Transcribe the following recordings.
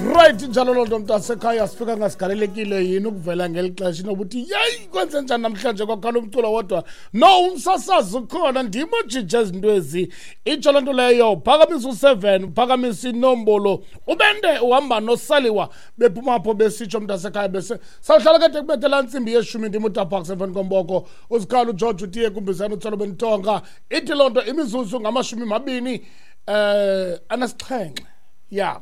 Right, njalo loo nto mntasekhaya, sifika ngasigalelekile yini ukuvela ngeli xesha inoba uthi yeyi, kwenze njani namhlanje kwakhala umculo wodwa. No, umsasazi ukhona, ndim ojija izinto ezi. Itsho loo nto leyo, phakamisa u-7, phakamisa inombolo, ubende uhamba nosaliwa bephuma apho besitsho mntasekhaya. Bese sawuhlala kade kubethe laa ntsimbi yeshumi. Ndim uTaparks emveni komboko uzikhala uGeorge utiye kumbizana utsolo bentonga. Ithi loo nto imizuzu ngama-27, ya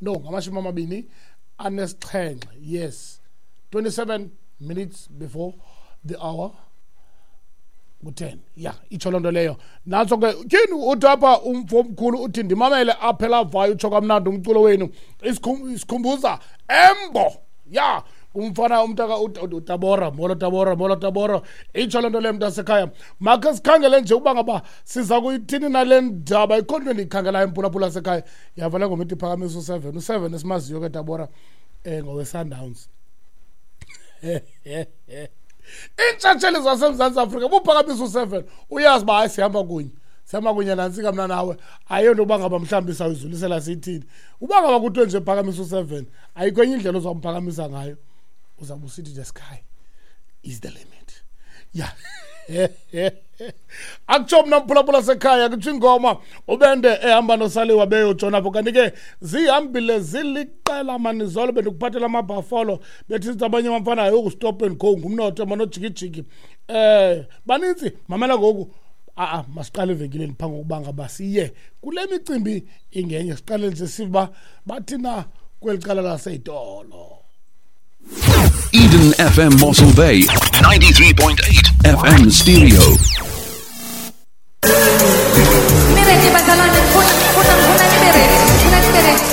no, ngama-27, yes, 27 minutes before the hour ku-10. Ya, itsho loo nto leyo. Nantso ke tyhini, uthi apha umfo omkhulu, uthi ndimamele apha elavayo, utsho kamnandi umculo wenu. Isikhumbuza embo ya umfana umntaka uTabora. Molo Tabora, molo Tabora. Itsho loo nto leyo mntasekhaya. Makhe sikhangele nje uba ngaba siza kuyithini nale ndaba. Ikho nto endiyikhangelayo, mphulaphula sekhaya. Yava le ngoma ithi phakamisa u-7, u-7 esimaziyo ke Tabora, ngowe-Sundowns. Iintshatsheli zaseMzantsi Afrika, buphakamisa u-7, uyazi uba hayi, sihamba kunye, sihamba kunye nantsika mna nawe. Ayonto uba ngaba mhlawumbi sawuyidlulisela siyithini. Uba ngaba kuthiwe nje phakamisa u-7, ayikho enye indlela ozawumphakamisa ngayo, uzawube usithi the sky is the limit. Ya, akutsho mna mphulaphula sekhaya, kutsho ingoma ubende ehamba nosaliwa beyotshona apho. Kanti ke zihambile ziliqela manizolo, bendikuphathela amabhafolo, bethi sithi abanye abamfana yoku-stop and go ngumnotho manojikijiki, baninzi. Mamela ngoku, a-a masiqale evenkileni phambi kokuba ngaba siye kule micimbi ingenye. Siqale nje siba bathi na kweli cala laseyitolo. Eden FM Mossel Bay, 93.8 FM stereo. Nibe bazalwane, ngifuna ngifuna ngifuna nibe ready. Ngifuna nibe ready.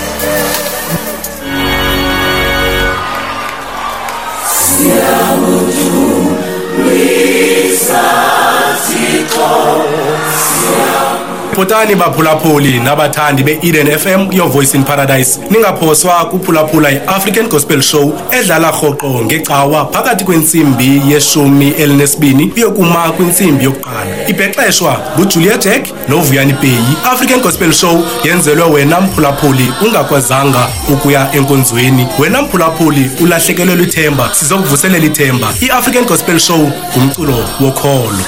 Bhotani baphulaphuli nabathandi be-Eden FM, Your Voice in Paradise. Ningaphoswa kuphulaphula i-African Gospel Show edlala rhoqo ngecawa phakathi kwentsimbi ye-12 uyokuma kwintsimbi yokuqala. Ibhexeshwa nguJulia Jack noVuyani Peyi. African Gospel Show yenzelwe wena mphulaphuli ungakwazanga ukuya enkonzweni. Wena mphulaphuli ulahlekelwe lithemba, sizokuvuselela ithemba. I-African Gospel Show ngumculo wokholo.